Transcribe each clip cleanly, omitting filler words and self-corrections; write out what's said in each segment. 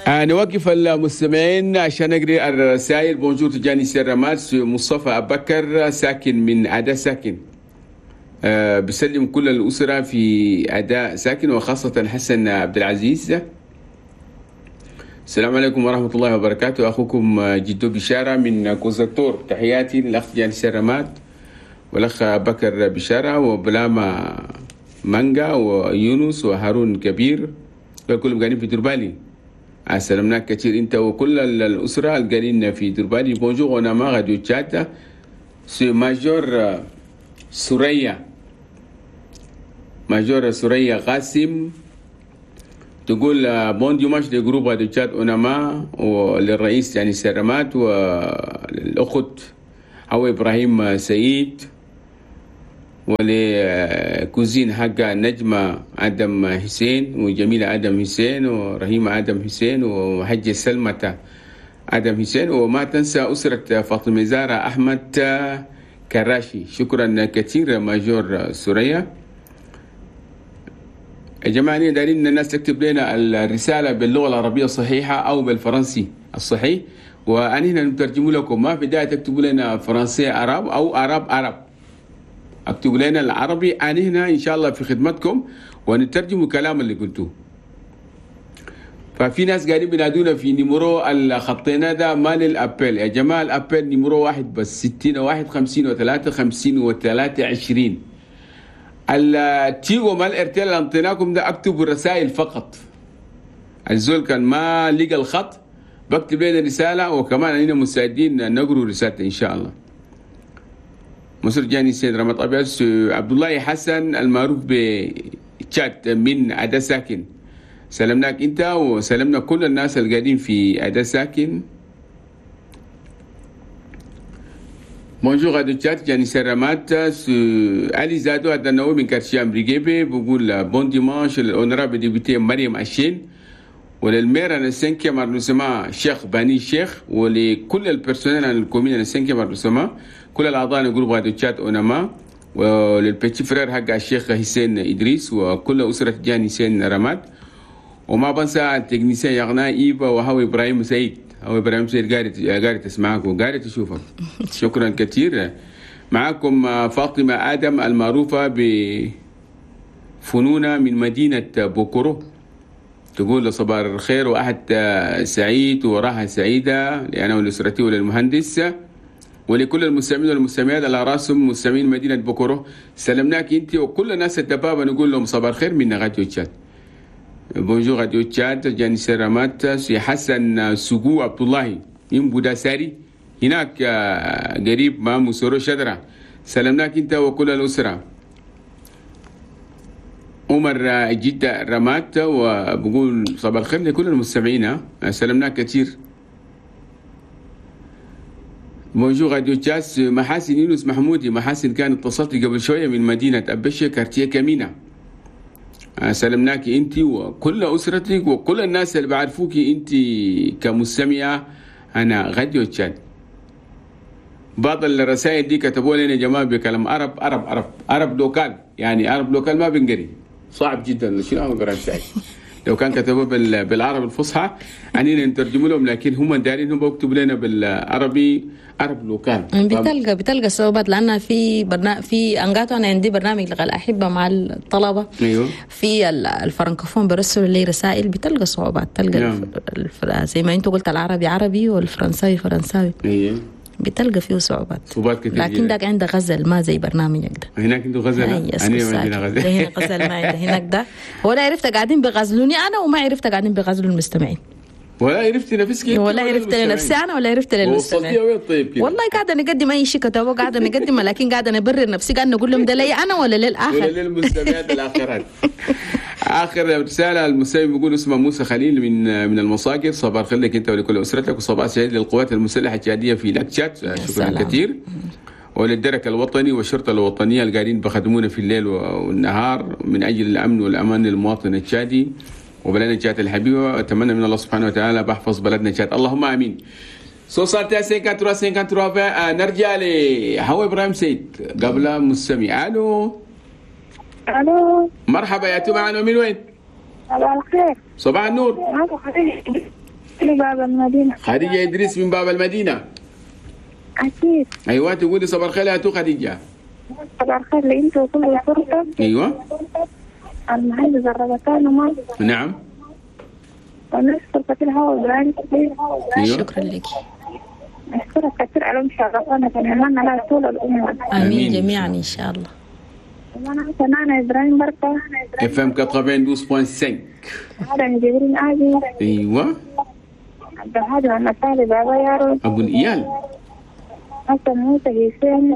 نوقف المستمعين عشان نقري الرسائل. bonjour تجاني سرمات، مصطفى أبكر ساكن من أداء ساكن، بسلم كل الأسرة في أداء ساكن وخاصة حسن عبد العزيز. السلام عليكم ورحمة الله وبركاته، أخوكم جدو بشارة من كوزاتور. تحياتي للأخ تجاني سرمات والأخ بكر بشارة وبلاما مانجا ويونس وهارون كبير، كلهم قاعدين في دربالي. سلمناك كثير انت وكل الاسرة القاعدين في دربالي. bonjour اوناما راديو تشاد، c'est major سوريا، major سوريا قاسم تقول bon dimanche le groupe راديو تشاد اوناما وللرئيس يعني سرمات وللاخت هو ابراهيم سعيد ول cousine حق نجمة آدم حسين وجميلة آدم حسين ورحيمة آدم حسين وحجة سلمة آدم حسين، وما تنسى أسرة فاطمة زارة أحمد كراشي. شكرا كثير major سوريا. يا جماعة دارين الناس تكتب لنا الرسالة باللغة العربية الصحيحة أو بالفرنسي الصحيح، وأنا نترجم لكم. ما في داعي تكتبوا لنا فرنسي عرب أو عرب عرب، اكتبوا لنا العربي. أنا هنا إن شاء الله في خدمتكم ونترجم الكلام اللي قلتوه. ففي ناس قاعدين بينادونا في numéro الخطينا ده مال ال appel. يا جماعة ال appel numéro واحد بس، 60 1 50 و3 50 و3 20. التيغو مال ارتيل اللي انطيناكم ده اكتبوا الرسائل فقط. الزول كان ما لقى الخط بكتب لنا رسالة، وكمان أننا مستعدين نقرأ رسالته إن شاء الله. مصر جاني السيد رمضان أبيض عبد الله حسن المعروف بتشات من أدا ساكن، سلمناك أنت وسلمنا كل الناس اللي قاعدين في أدا ساكن. bonjour راديو تشات جاني سرمات علي زادو هذا النووي من quartier أمريكي بقول bon dimanche لل honorable députée مريم أشين ولل maire أنا cinquième arrondissement شيخ باني شيخ ولكل ال personnel ال commune أنا cinquième arrondissement، كل الأعضاء groupe راديو تشات أونما، ولل petit frère حق الشيخ حسين إدريس وكل أسرة جاني حسين رماد، وما بنسى ال technicien يغنى إيفا وهو إبراهيم سعيد. هو إبراهيم سعيد قاعد تسمعك وقاعد تشوفك. شكرا كثير. معكم فاطمة آدم المعروفة بفنونة من مدينة بوكورو، تقول صباح الخير وأحد سعيد وراحة سعيدة لأنا ولأسرتي وللمهندس ولكل المستمعين والمستمعات على راسهم مستمعين مدينة بوكورو. سلمناك أنت وكل الناس الدبابة، نقول لهم صباح الخير من راديو تشاد. bonjour راديو تشاد جاني سرامات سي حسن سجو عبد الله من بوداساري هناك قريب مع مسورو شدرة، سلمناك أنت وكل الأسرة. عمر جدة رمات وبقول صباح الخير لكل المستمعين، سلمناك كثير. bonjour راديو تشاس محاسن يونس محمودي. محاسن كان اتصلت قبل شوية من مدينة أبشة quartier كمينة، سلمناك انت وكل أسرتك وكل الناس اللي بعرفوك انت كمستمعة أنا راديو تشاد. بعض الرسائل دي كتبوا لنا يا جماعة بكلام عرب عرب عرب عرب local، يعني عرب local ما بنقري، صعب جدا. شنو عم سعيد لو كان كتبوه بالعرب الفصحى عنينا نترجم لهم، لكن هم دارين هم بيكتبوا لنا بالعربي عرب local. بتلقى صعوبات لأن في برنامج في أنقاطو، أنا عندي برنامج لغة الأحبة مع الطلبة. أيوه. في الفرنكوفون برسلوا لي رسائل، بتلقى صعوبات، تلقى نعم. زي ما أنتوا قلت العربي عربي والفرنساوي فرنساوي. أيوه. بتلقى فيه صعوبات كتير، لكن داك عنده غزل ما زي برنامجك ده. هناك عنده غزل، أنا ما عندنا غزل. هنا غزل ما عنده هناك ده، ولا عرفت قاعدين بغزلوني أنا وما عرفت قاعدين بغزلوا المستمعين، ولا عرفت نفسك ولا عرفت لنفسي أنا ولا عرفت للمستمعين. وصلتي وين طيب كده؟ والله قاعدة نقدم أي شيء كتبه قاعدة نقدمه، لكن قاعدة نبرر نفسي، قاعدة نقول لهم ده لي أنا ولا للآخر ولا للمستمعات الآخرات. آخر رسالة المستمع بيقول اسمه موسى خليل من المساكر، صباح الخير لك أنت ولكل أسرتك وصباح سعيد للقوات المسلحة التشادية في لاكشات، شكرا كثير، وللدرك الوطني والشرطة الوطنية اللي قاعدين بخدمونا في الليل والنهار من أجل الأمن والأمان للمواطن التشادي وبلدنا تشاد الحبيبة. أتمنى من الله سبحانه وتعالى بحفظ بلدنا تشاد، اللهم آمين. 61 53 53. نرجع لهو إبراهيم سيد قبل مستمع. ألو الو، مرحبا يا معنا من وين؟ صباح الخير. صباح النور. من باب المدينة. خديجة إدريس من باب المدينة. أكيد. أيوة تقولي صباح الخير يا تو خديجة. صباح الخير لأنت وكل فرصة. أيوة. المهندس الربطان وما. نعم. ونشكر كثير هو إبراهيم. أيوة. شكرا لك. أشكرك كثير على مشاركتنا ونتمنى لها طول العمر. آمين جميعا إن شاء الله. وأنا سمعنا إبراهيم بركة. FM 92.5. هذا جبرين آدي. أيوة. عبد الهادي والمسالي بابا يارو. أبو الإيال. حسن موسى حسين.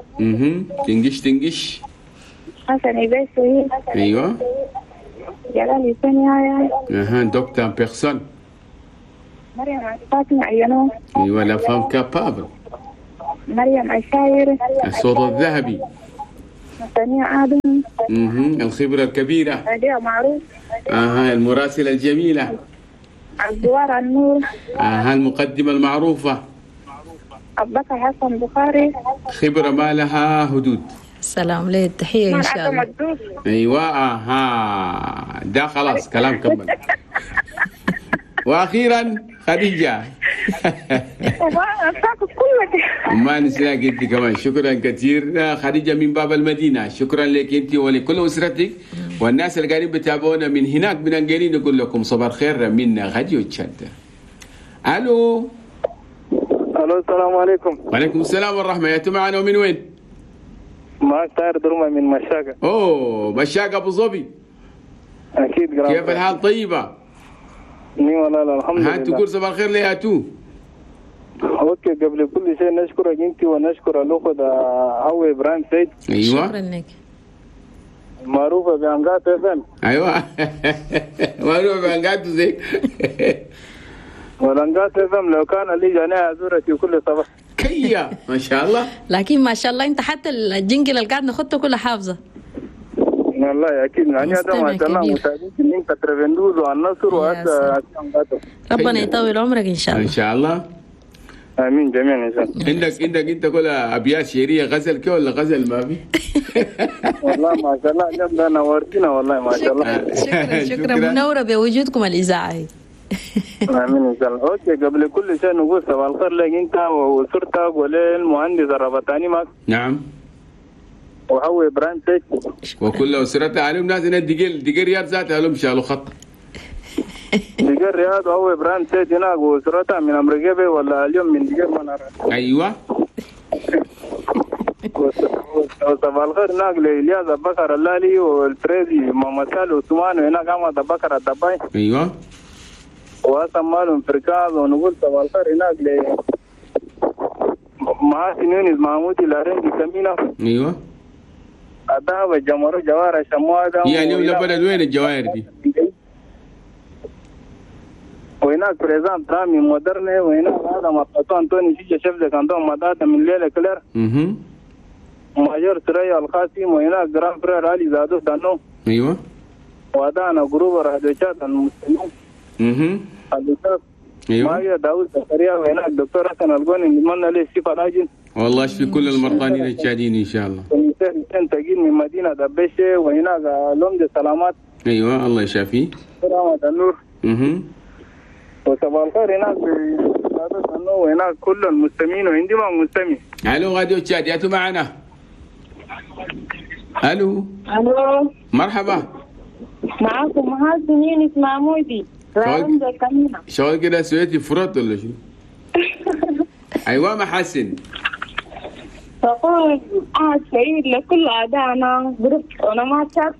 تنجش تنجش. حسن إباسي. أيوة. جلال حسين يايا. أها docteur en personne. مريم فاطمة عينو. أيوة la femme capable. مريم عشاير. الصوت الذهبي. ثانية آدم. الخبرة الكبيرة. أدية معروف. المراسلة الجميلة. الزوار النور. المقدمة المعروفة. أبو بكر حسن بخاري. خبرة ما لها حدود. السلام ليه التحية إن شاء الله. أيوة ده خلاص كلام كمل. وأخيرا خديجة. ما نسيناك أنت كمان. شكرا كثير خديجة من باب المدينة. شكرا لك أنت ولكل أسرتك والناس اللي قاعدين بتابعونا من هناك من أنجلين. نقول لكم صباح الخير من راديو تشاد. ألو. ألو السلام عليكم. وعليكم السلام والرحمة. يا معنا ومن وين؟ معك طاهر درمة من مشاقة. أوه مشاقة أبو ظبي. أكيد. كيف الحال؟ طيبة؟ ني والله الحمد لله. تقول صباح الخير ليه تو؟ okay قبل كل شيء نشكرك انت ونشكر الاخت هو ابراهيم سيد. ايوه شكرا لك. معروفة بانقات FM. ايوه معروفة بانقات زي والانقات FM لو كان لي جناح ازورك في كل صباح. كيا ما شاء الله. لكن ما شاء الله انت حتى ال jingle اللي قاعد نخطه كله حافظه. والله اكيد يعني هذا ما شاء الله متابعين من كترفندوز والنصر وهذا. ربنا يطول عمرك ان شاء الله. ان شاء الله. امين جميعا ان شاء الله. عندك انت كل ابيات شعرية غزل كي ولا غزل ما في؟ والله ما شاء الله اليوم ده نورتنا والله ما شاء الله. شكرا شكرا منورة بوجودكم الاذاعة. امين ان شاء الله. okay قبل كل شيء نقول صباح الخير لك انت واسرتك وللمهندس الربطاني معك. نعم. وهو ابراهيم سيد وكل اسرته عليهم ناس هنا دقيل رياض ذاتها لهم شالوا خط. دقيل رياض وهو ابراهيم سيد هناك واسرته من امريكا ولا اليوم من دقيل ما نعرف. ايوه. وصباح الخير هناك لإلياس ابو بكر اللالي والفريدي محمد سالي وثمان وهناك احمد ابو بكر الدباي. ايوه. وحسن مالهم فركاز. ونقول صباح الخير هناك ل محاسن يونس محمود الارنجي كمينة. ايوه. الذهب الجمر جوار شموادة. هي اليوم لبلد وين الجواهر دي؟ وهناك بريزان ترامي مودرنة. وهناك هذا مطلطو أنتوني شيشة شفزة كان مدادة من ليلة كلير. ماجور سرية القاسم. وهناك جرام فرير علي زادو دانو. ايوه. ودانا جروب رادوشات المسلمين. ايوه. ماجور داوود زكريا. وهناك دكتور حسن القوني نتمنى له الشفاء العاجل. والله يشفي كل المرضانين الشادين ان شاء الله. تجين من مدينة دبشه. وهناك لوم سلامات. ايوه الله يشافيه. سلامة النور. وصباح الخير هناك وهناك كل المستمعين وعندي ما مستمع. الو راديو تشاد ياتوا معنا. الو. الو مرحبا. معاكم محاسن يونس محمودي. شغل كده سويتي فرط ولا شنو؟ ايوه محاسن. تقول عهد سعيد لكل أعدائنا groupe أونماتشات.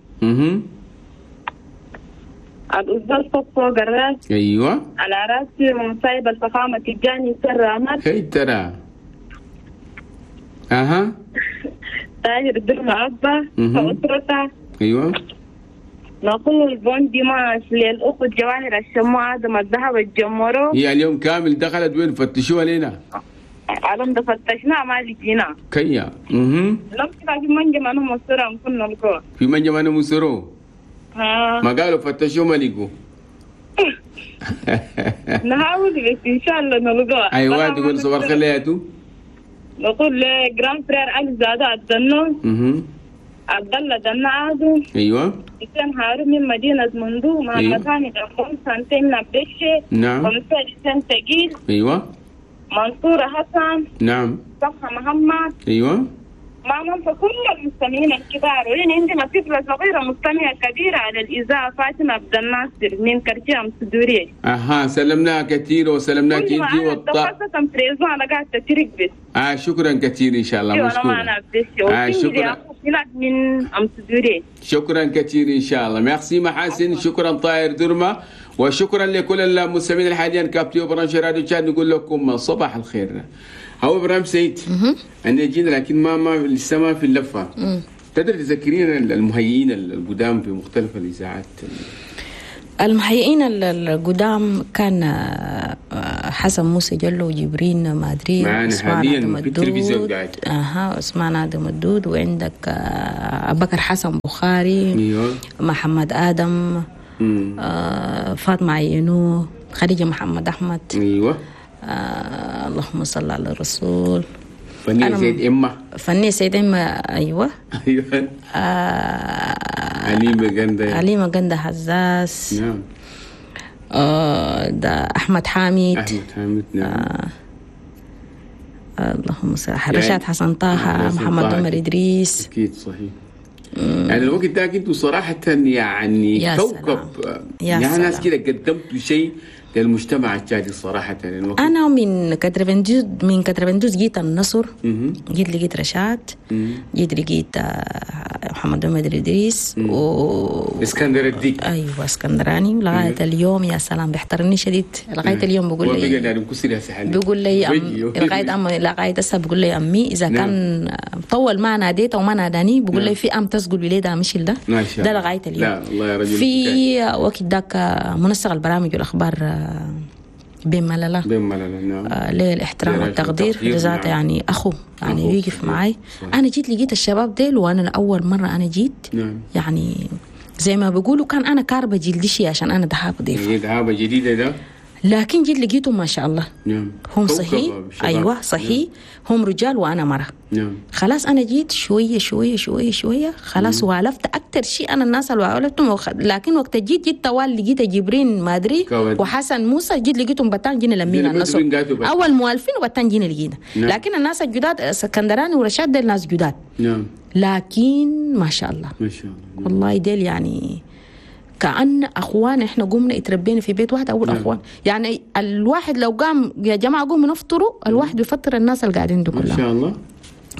الأستاذ فوق فوق الراس. أيوة. على راسي ومصايب الفخامة تجاني سر. هي ترى. أها. تاجر الدرم عبا وأسرته. أيوة. نقول bon dimanche للأخت جواهر الشموع آدم الذهب الجمرو. هي اليوم كامل دخلت وين فتشوها لنا؟ علم ده فتشنا ما لقينا. كيا. لم في منجم أنا مصرة كنا نلقوا. في منجم أنا مصرة. ما قالوا فتشوا ما لقوا. نحاول بس إن شاء الله نلقاه. أيوة تقول صباح الخير لياتو. نقول ل grand frère علي زادة الدنون. عبد الله دنا آدم. ايوه. حسين هارون من مدينة مندو، محمد هاني دمون سانتين نبشة. ومساء حسين تقيل. منصور حسن. صفحة محمد. ما ننسى كل المستمعين الكبار، ولين عندنا طفلة صغيرة مستمعة كبيرة على الإذاعة، فاطمة عبد الناصر من كرتيام سدوري. اها، سلمناها كثير وسلمناك كل ما انت أنا خاصة بريزون أنا قاعدة تترك بس. شكرا كثير ان شاء الله. أيوة، أنا ما مشكورة. أنا بس شكرا. هناك من أم سدوري. شكرا كثير ان شاء الله، ميرسي محاسن، شكرا طاهر درمه، وشكرا لكل المستمعين الحاليا captés و branchés راديو تشاد. نقول لكم صباح الخير. هو ابراهيم سيد، انا جينا لكن ما لسه ما في اللفه. تقدر تذكرين المهيئين القدام في مختلف الاذاعات؟ المهيئين القدام كان حسن موسى جلو وجبرين مادري. معانا عثمان حالياً آدم في التلفزيون الدود. قاعد. اها، عثمان ادم الدود، وعندك ابو بكر حسن بخاري، محمد ادم، فاطمة عينو، خديجة محمد احمد. اللهم صل على الرسول. فنية سيد اما. فنية سيد اما، ايوه. عليمة جندة. عليمة جندة حزاز. ده احمد حامد. احمد حامد، نعم. اللهم صل على رشاد حسن طه. حسن محمد طه. عمر ادريس. اكيد صحيح، يعني الوقت ده انتوا صراحة يعني يا كوكب. سلام. يا يعني ناس سلام. كده قدمتوا شيء للمجتمع التشادي صراحة الوقت. انا من 92، من 92 جيت النصر. جيت لقيت رشاد. جيت لقيت محمد عمر ادريس و اسكندر الديك. ايوه، اسكندراني لغاية اليوم، يا سلام، بيحترمني شديد لغاية اليوم، بقول هو بقى لي يعني مكسر يا سحلي. بيقول لي لغاية أم لغاية هسه بيقول لي امي اذا كان طول ما ناديته وما ناداني، بيقول لي في ام تسقل وليدها مشيل ده. ما شاء ده الله. لغاية اليوم. لا والله يا رجل. في وقت ذاك منسق البرامج والاخبار بن ملله. بين ملل، نعم. ليه الاحترام ليه والتقدير. التقدير، لذاته يعني اخو يعني أخو. يقف معي. انا جيت لقيت الشباب ديل، وانا اول مرة انا جيت يعني زي ما بيقولوا كان انا كاربه جلدي شي عشان انا دهاب ضيفه. هي دعابة جديدة ده. لكن جيت لقيتهم ما شاء الله. هم كوكب صحيح. شباب. ايوه صحيح، هم رجال وانا مرة. خلاص، انا جيت شوية شوية شوية شويه، خلاص والفت اكثر شيء انا الناس اللي والفتهم لكن وقت جيت طوال لقيت جبرين مادري كواد. وحسن موسى، جيت لقيتهم بتان جينا لمينا جينا النصر. بتوين قاتوا بس. اول موالفين وبتان جينا لقينا. لكن الناس الجداد اسكندراني ورشاد ديل ناس جداد. لكن ما شاء الله. ما شاء الله. والله ديل يعني كأن اخوان، احنا قمنا اتربينا في بيت واحد اول. اخوان يعني، الواحد لو قام يا جماعة قوموا نفطروا، الواحد بيفطر الناس اللي قاعدين دول ما كلها. شاء الله.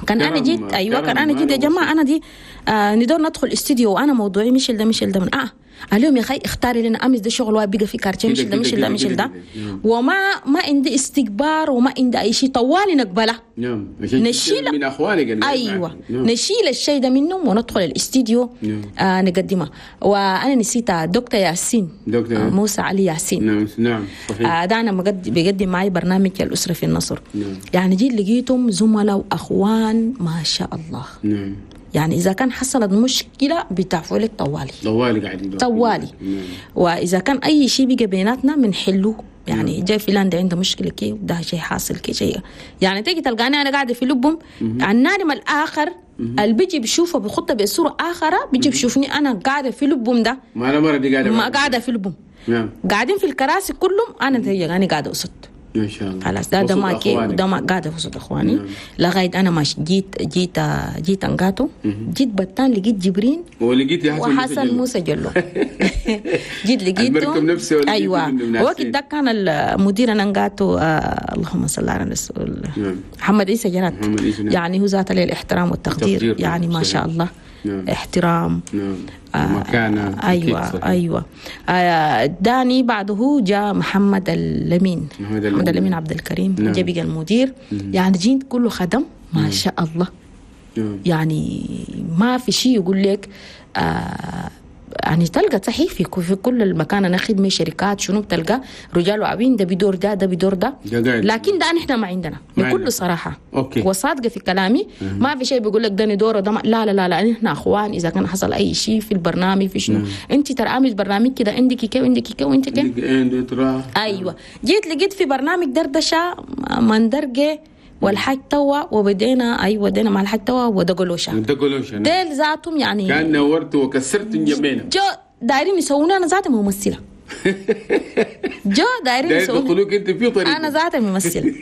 كان انا جيت، ايوه، كان انا جيت يا جماعة انا دي ندور ندخل استديو وانا موضوعي مش ده مش ده من قال لهم يا اخي اختاري لنا، امس ده شغل واحد بقى في كارتين مش كده ده مش كده ده مش كده ده. كده. وما ما عندي استكبار وما عندي اي شيء، طوالي نقبله. نعم، عشان نشيل من اخوانك اللي ايوه. معك. نعم. نشيل الشيء ده منهم وندخل الاستديو. نقدمها. وانا نسيت دكتور ياسين. دكتور. موسى علي ياسين. نعم نعم صحيح. ده انا بقدم معي برنامج الاسرة في النصر. يعني جيت لقيتهم زملاء واخوان ما شاء الله. يعني اذا كان حصلت مشكلة بتعفوا لك طوالي. طوالي قاعدين. طوالي. واذا كان اي شيء بقى بيناتنا بنحله، يعني جاي فلان ده عنده مشكلة كي وده شيء حاصل كي شيء، يعني تيجي تلقاني انا قاعدة في لبهم النادم الاخر اللي بيجي بشوفه بخطه بصورة اخرى، بيجي بشوفني انا قاعدة في لبهم ده. ما انا مرة دي قاعدة ما معك. قاعدة في لبهم. قاعدين في الكراسي كلهم، انا تيجي قاعدة وسط. ما شاء الله. خلاص ده وسط ما كي أخوانك. ده ما قاعدة في وسط اخواني. لغاية انا ما جيت انقاتو، جيت بتان لقيت جبرين ولقيت يا حسن وحسن موسى موسى جلو، جيت لقيته. المركب نفسه ولقيته ايوه. منه من وقت حسين. ده كان المدير انا انقاتو اللهم صل على الرسول. محمد عيسى جرات. محمد عيسى، نعم. يعني هو ذات له الاحترام والتقدير. التقدير، نعم. يعني ما شاء الله. احترام. مكانة أكيد. ايوه. صحيح. ايوه، داني بعده جاء محمد اللمين. محمد اللمين. محمد اللمين عبد الكريم. جاء بقى المدير، يعني جيت كله خدم ما شاء الله. يعني ما في شيء يقول لك يعني تلقى صحيح في كل المكان انا خدمة شركات شنو بتلقى رجال وعبين، ده بدور ده، ده بدور ده. ده قاعد. لكن ده نحن ما عندنا ما بكل عندنا. صراحة okay. وصادقة في كلامي، ما في شيء بيقول لك ده ندور ده لا لا لا لا، نحن اخوان. اذا كان حصل اي شيء في البرنامج في شنو، انت ترى عامل برنامج كده، عندك كي وعندك كي وانت كي. عندك اند ترى. ايوه، جيت لقيت في برنامج دردشة مندرجه. والحاج توا، وبدينا ايوه بدينا مع الحاج توا ودقلوشه. دقلوشه ديل ذاتهم يعني كان نورت وكسرت جنبينا. جو دايرين يسوونا انا ذاتي ممثلة. جو دايرين يسوونا انت في طريقه، انا ذاتي ممثلة.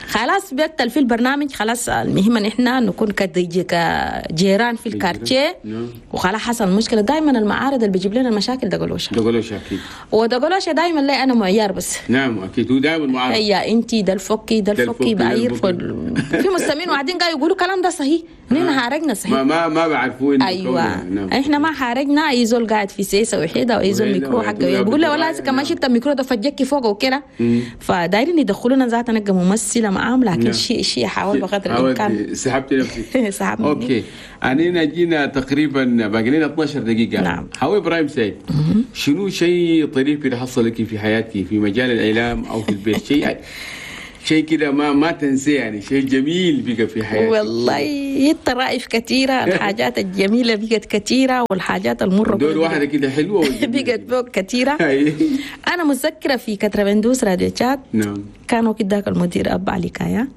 خلاص بيتل في البرنامج، خلاص المهم ان احنا نكون كجيران في ال quartier. وخلاص حصل مشكلة. دائما المعارض اللي بيجيب لنا المشاكل دقلوشه. دقلوشه اكيد. ودقلوشه دائما لا انا معيار بس. نعم اكيد، هو دائما معارض. هي انت ده الفكي ده الفكي بعير في مستمعين وقاعدين قاعد يقولوا كلام ده صحيح، نحن حارجنا صحيح. ما بعرفوا. ايوه احنا ما حارجنا. اي زول قاعد في سيسه وحيده واي زول ميكرو حقه بيقول له والله كمان شلت الميكرو ده فجكي فوق وكده. فدايرين يدخلونا ذاتنا نبقى ممثلة معاهم، لكن شيء حاول بقدر الامكان. سحبت نفسك. سحبت. okay انا جينا تقريبا باقي لنا 12 دقيقة. نعم. حاول ابراهيم سعيد، شنو شيء طريف اللي حصل لك في حياتك في مجال الاعلام او في البيت؟ شيء كده ما تنسيه، يعني شيء جميل بقى في حياتك. والله الطرائف كثيرة، الحاجات الجميلة بقت كثيرة، والحاجات المرة دور واحدة كده حلوة بقت فوق كثيرة. أنا متذكرة في كتربندوس راديو تشاد. نعم. كانوا كداك المدير أب علي كايا.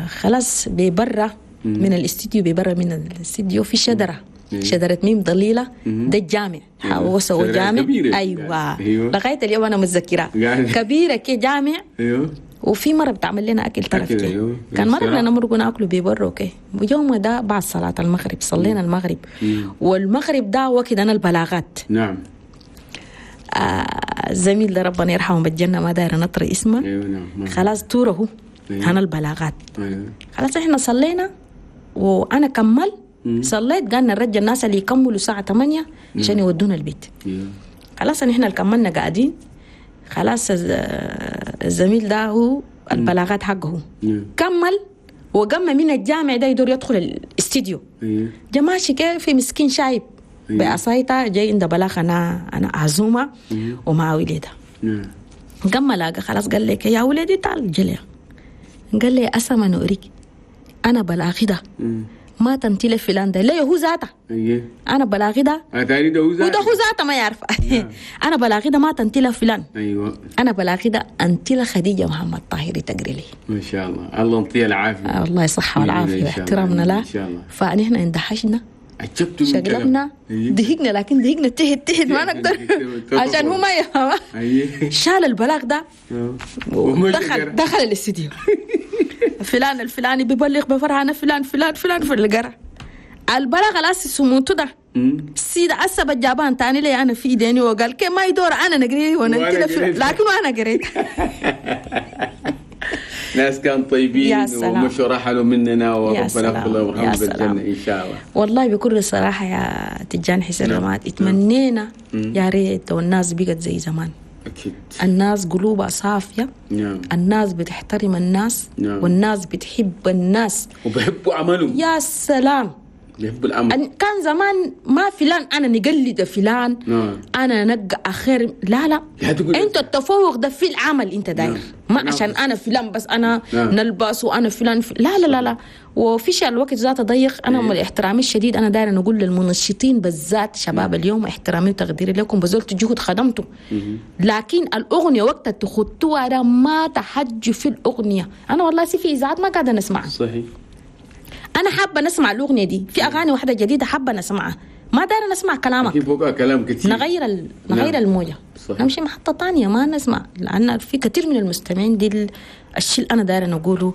خلاص ببرة من الاستديو، ببرة من الاستديو في شجرة. شجرة ميم ضليلة. ده الجامع، هو سوى جامع. أيوة. لغاية اليوم أنا متذكرة كبيرة كي جامع. أيوة. وفي مرة بتعمل لنا أكل طرف كي. أيوه. كان مرة بدنا نمرق ناكله ببره okay. ويوم ده بعد صلاة المغرب صلينا المغرب. والمغرب ده وقت أنا البلاغات. نعم. الزميل ده ربنا يرحمه بالجنة، ما داير نطري اسمه. أيوه نعم. خلاص توره. أيوه. أنا البلاغات. أيوه. خلاص إحنا صلينا وأنا كمل صليت، قالنا نرجع الناس اللي يكملوا الساعة 8 عشان يودونا البيت. أيوه. خلاص إحنا اللي كملنا قاعدين. خلاص الزميل ده هو البلاغات حقه كمل وقام من الجامع ده يدور يدخل الاستديو. جماشي كيف في مسكين شايب بعصايته جاي عنده بلاغ انا عزومة ومع وليده. قام لاقى خلاص قال لك يا ولدي تعال جلي. قال لي اسما نوريك انا بلاغي ده ما تنتلي فلان ده ليه هو ذاته. انا بلاغي ده وده هو ذاته ما يعرف. انا بلاغي ده ما تنتلي فلان. ايوه انا بلاغي ده انتلي خديجة محمد طاهري تقري لي. ما شاء الله، الله يعطيها العافية. الله يصحها والعافية واحترامنا له. فنحن اندهشنا، شقلبنا، ضحكنا، لكن ضحكنا تحت تحت ما نقدر عشان هو ما يفهم. شال البلاغ ده ودخل الاستديو. فلان الفلاني بيبلغ بفرح، انا فلان فلان فلان في القرى. البلاغ الاساس سموته ده سيد عصب الجابان تاني لي انا في ايديني وقال كي ما يدور انا نقري وانا لكن انا قريت. ناس كان طيبين ومشوا رحلوا مننا، وربنا يغفر لهم ويرحمهم بالجنة ان شاء الله. والله بكل صراحة يا تجان حسين رماد، اتمنينا يا ريت لو الناس بقت زي زمان. أكيد. الناس قلوبها صافية. نعم. الناس بتحترم الناس. نعم. والناس بتحب الناس وبيحبوا عملهم. يا سلام، بيحبوا العمل. كان زمان ما فلان أنا نقلد فلان. نعم. أنا نقى أخير، لا لا، أنت التفوق ده في العمل أنت داير. نعم. ما نعم. عشان أنا فلان بس أنا نعم. نلبس وأنا فلان لا لا لا لا. وفي شيء الوقت ذاته ضيق. أنا من احترامي الشديد أنا داير نقول للمنشطين بالذات شباب اليوم احترامي وتقديري لكم، بذلت جهد خدمته. لكن الأغنية وقت تخطوها ده ما تحج في الأغنية. أنا والله في إذاعات ما قاعدة نسمعها. صحيح. أنا حابة نسمع الأغنية دي، في أغاني واحدة جديدة حابة نسمعها، ما دايرة نسمع كلامك. في فوقها كلام كثير. نغير نغير الموجة. صحيح. نمشي محطة تانية ما نسمع، لأن في كثير من المستمعين دي الشيء اللي أنا دايرة نقوله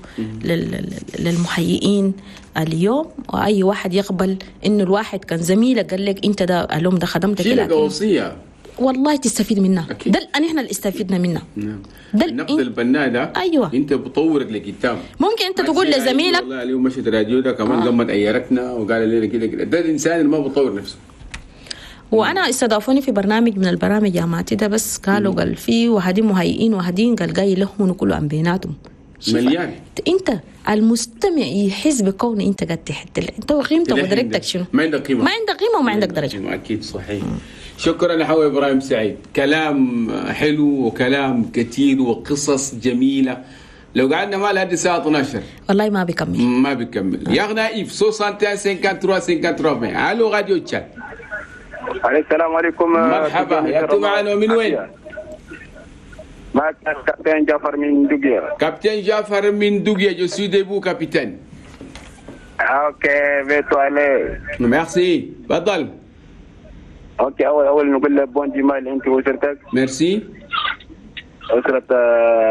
للمحيئين اليوم، وأي واحد يقبل إنه الواحد كان زميلك قال لك أنت ده اليوم ده خدمتك، لكن وصية والله تستفيد منها. ده نحن اللي استفدنا منها. نعم. ده النقد البناء ده. أيوة. انت بتطورك لقدام. ممكن انت تقول لزميلك والله اليوم مشيت راديو ده كمان لما ايرتنا وقال لنا كده كده، ده الانسان اللي ما بيطور نفسه. وانا استضافوني في برنامج من البرامج يا ماتي ده، بس قالوا قال في وهدين مهيئين وهدين قال جاي لهم كله عن بيناتهم مليان. انت المستمع يحس بكون انت قاعد تحت انت وقيمتك ودرجتك شنو. ما عندك قيمة، ما عندك قيمة وما عندك درجه. اكيد صحيح. شكرا لحوي ابراهيم سعيد، كلام حلو وكلام كثير وقصص جميلة. لو قعدنا ما لحد الساعة 12 والله ما بيكمل، ما بيكمل. يا غنائف 61 53 53. الو راديو تشاد. السلام عليكم. مرحبا، يا معنا من وين؟ معك كابتن جعفر من دوغيا. كابتن جعفر من دوغيا، je suis debout capitaine. OK بيتو علي. ميرسي، تفضل. OK، اول نقول لك bon dimanche انت واسرتك. ميرسي. اسرة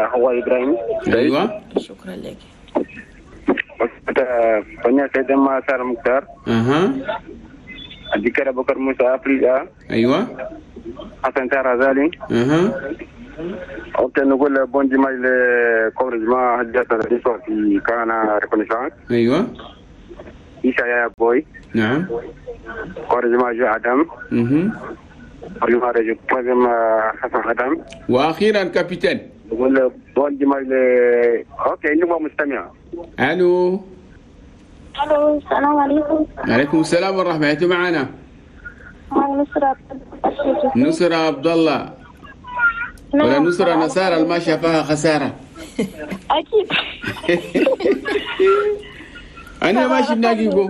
حواء ابراهيم. ايوه شكرا لك. أسرة فنيا سيد ما سار مختار. اها. الذكر بكر موسى افريقيا. ايوه. حسن سار غزالي. اها. OK نقول bon dimanche لكل جماعة حجة في كان Reconnaissance. ايوه. إيشا يا بوي. نعم. كورجما جو آدم. حسن آدم. وأخيرا capitaine. نقول bon dimanche OK إنه مستمع. ألو. ألو السلام عليكم. عليكم السلام ورحمة الله. معنا؟ نصرة. نصرة عبد الله. ولا نصرة نصارى ما شافها خسارة. أكيد. أنا ماشي بناقيكو.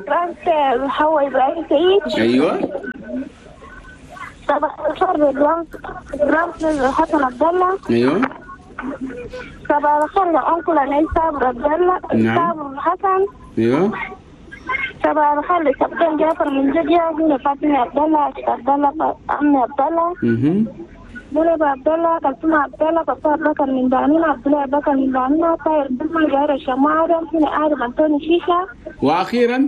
حواء إبراهيم سعيد. أيوة. صباح الخير للبرانس حسن عبد الله. أيوة. صباح الخير لأنكل علي صابر عبد الله. نعم. صابر حسن. أيوة. صباح الخير لكابتن جعفر من جديا، هنا فاطمة عبد الله، عبد الله، عمي عبد الله. منى عبد الله، كلثوم عبد الله، بكر بكر من بعنينا، عبد الله بكر من بعنينا، طاهر بن جاير الشماعة آدم، هنا آدم أنطوني شيشة. وأخيرا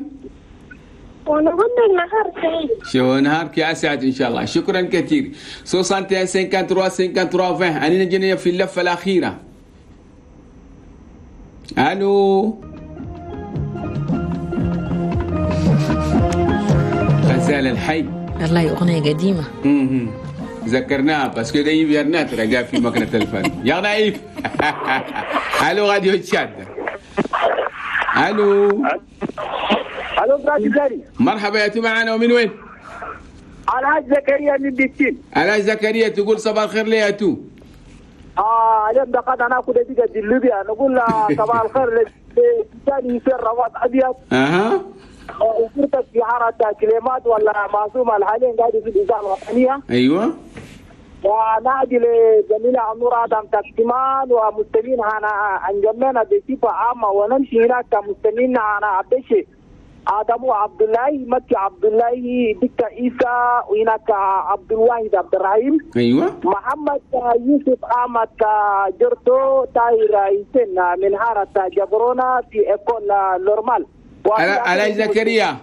ونقول النهار سعيد. شو نهارك يا أسعد إن شاء الله. شكرا كثير. 61 53 53 20. أنا جينا في اللفة الأخيرة. ألو. غزال الحي. والله أغنية قديمة. ذكرناها parce que ده يبيرنا ترى في مكنة الفن. يا نايف. الو راديو تشاد. الو. الو برادي. مرحبا يا معنا ومن وين؟ الحاج زكريا من بيتين. الحاج زكريا تقول صباح الخير لي يا تو. اليوم دقات انا اخذ دقيقة ليبيا نقول صباح الخير للثاني يصير رواد ابيض. اها. وفرتك في حارة كلمات ولا معصومة الحاليا قاعدة في الإذاعة الوطنية. ايوه. ونادي لزميلة نور آدم تقسيمان ومستمعين عن جمعنا بصفة عامة ونمشي هناك كمستمعين عن عبدشي آدم عبد الله مكي عبد الله دكة عيسى وهناك عبد الواحد عبد الرحيم. ايوه. محمد يوسف احمد جرتو تاير حسين من حارة جبرونا في école normale. على زكريا.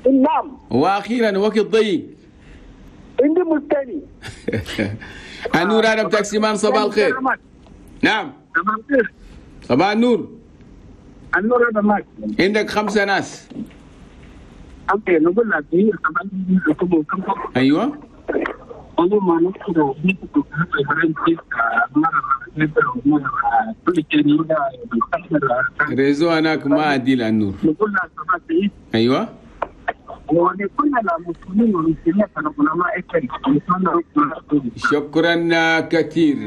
نعم. واخيرا وقت ضيق. عندي مستني. النور آدم تاكسيمان صباح الخير. نعم. صباح الخير. صباح النور. النور هذا معك. عندك 5 ناس. OK نقول لك ايوه. réseau هناك ما ادي النور. نقول لك صباح سعيد. ايوه. ولكل المسلمين والمسلمات العلماء. شكرا كثير.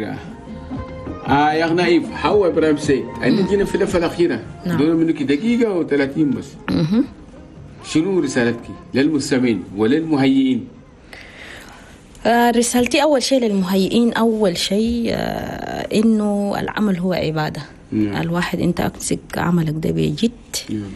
يا نايف حوا ابراهيم سيد. انا جينا في اللفة الاخيرة. نعم. دول منك دقيقة و30 بس. شنو رسالتك للمستمعين وللمهيئين؟ رسالتي أول شيء للمهيئين، أول شيء إنه العمل هو عبادة. نعم. الواحد أنت أمسك عملك ده بجد. نعم.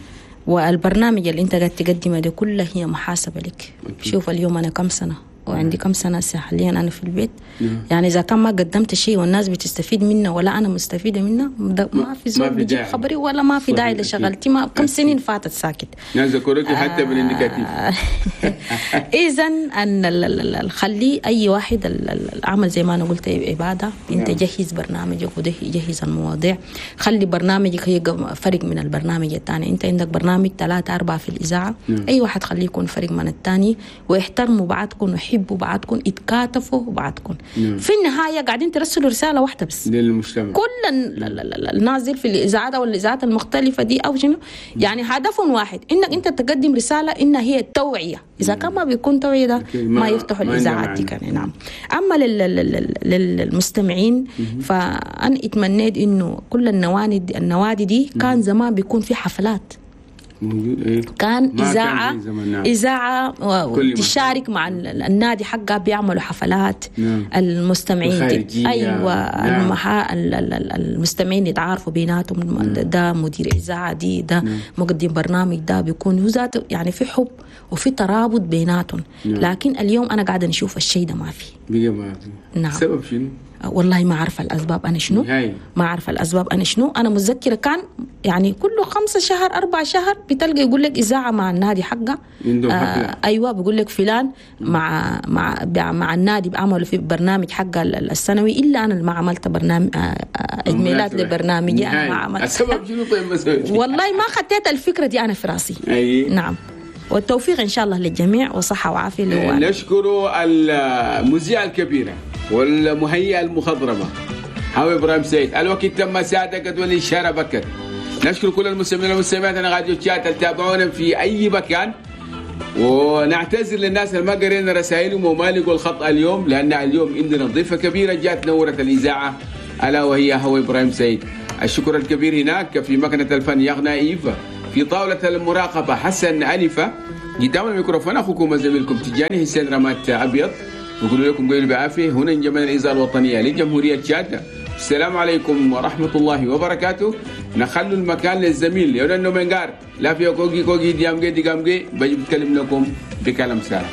والبرنامج اللي أنت قاعد تقدمه ده كله هي محاسبة لك. أكيد. شوف اليوم أنا كم سنة وعندي كم سنة حاليا أنا في البيت. نعم. يعني إذا كان ما قدمت شيء والناس بتستفيد منه ولا أنا مستفيدة منه، ما في زول بيجيب خبري ولا ما في داعي لشغلتي. ما كم سنين فاتت ساكت. ناس ذكرتي حتى من النكاتيف. إذا أن خلي أي واحد العمل زي ما أنا قلت عبادة. أنت جهز برنامجك وجهز المواضيع، خلي برنامجك هي فرق من البرنامج الثاني. أنت عندك برنامج 3 4 في الإذاعة. نعم. أي واحد خليه يكون فرق من الثاني، واحترموا بعضكم وحبوا بعضكم، اتكاتفوا بعضكم. نعم. في النهاية قاعدين ترسلوا رسالة واحدة بس للمجتمع. كل النازل في الإذاعات أو الإذاعات المختلفة دي أو شنو، يعني هدفهم واحد، إنك أنت تقدم رسالة إنها هي التوعية. إذا كان ما بيكون توعية ده ما يفتحوا الإذاعات دي كان. نعم. أما للمستمعين فأنا اتمنيت إنه كل النوادي دي كان زمان بيكون في حفلات. موجود إيه؟ كان ما اذاعة كان زي زمان، نعم. اذاعة كل تشارك مع النادي حقها، بيعملوا حفلات. نعم. المستمعين الخارجية. ايوه. نعم. المستمعين يتعارفوا بيناتهم، ده مدير اذاعة دي، ده مقدم برنامج ده، بيكون هو ذاته يعني في حب وفي ترابط بيناتهم. نعم. لكن اليوم انا قاعدة نشوف الشيء ده ما في. بقى ما في. نعم. سبب شنو؟ والله ما عارفه الاسباب انا شنو. نهائي. ما عارفه الاسباب انا شنو. انا متذكرة كان يعني كل 5 شهر 4 شهر بتلقى يقول لك اذاعة مع النادي حقه عندهم حفلة. ايوه، بيقول لك فلان مع مع مع النادي بيعملوا في برنامج حقه السنوي، الا انا اللي ما عملت برنامج اجمالات لبرنامجي انا ما نهائي. عملت. السبب شنو طيب ما سويت؟ والله ما خطيت الفكرة دي انا في راسي. أي. نعم، والتوفيق ان شاء الله للجميع وصحة وعافيه اللي هو نشكر المذيعة الكبيرة والمهيئة المخضرمة هاوي إبراهيم سيد. الوقت تم ساعتك والإشارة بكت. نشكر كل المستمعين والمستمعات أنا راديو تشات تابعونا في أي مكان، ونعتذر للناس اللي ما قرينا رسائلهم وما لقوا الخط اليوم، لأن اليوم عندنا ضيفة كبيرة جات نورت الإذاعة ألا وهي هاوي إبراهيم سيد. الشكر الكبير هناك في مكنة الفن يغنى إيفا، في طاولة المراقبة حسن ألفة، قدام الميكروفون أخوكم وزميلكم تجاني حسين رمات أبيض. نقول لكم قولوا بعافية. هنا جمال الإذاعة الوطنية لجمهورية تشاد. السلام عليكم ورحمة الله وبركاته. نخلوا المكان للزميل يونا منقار لا في كوكي كوكي ديامجي ديامجي بجي بتكلم لكم بكلام سارة.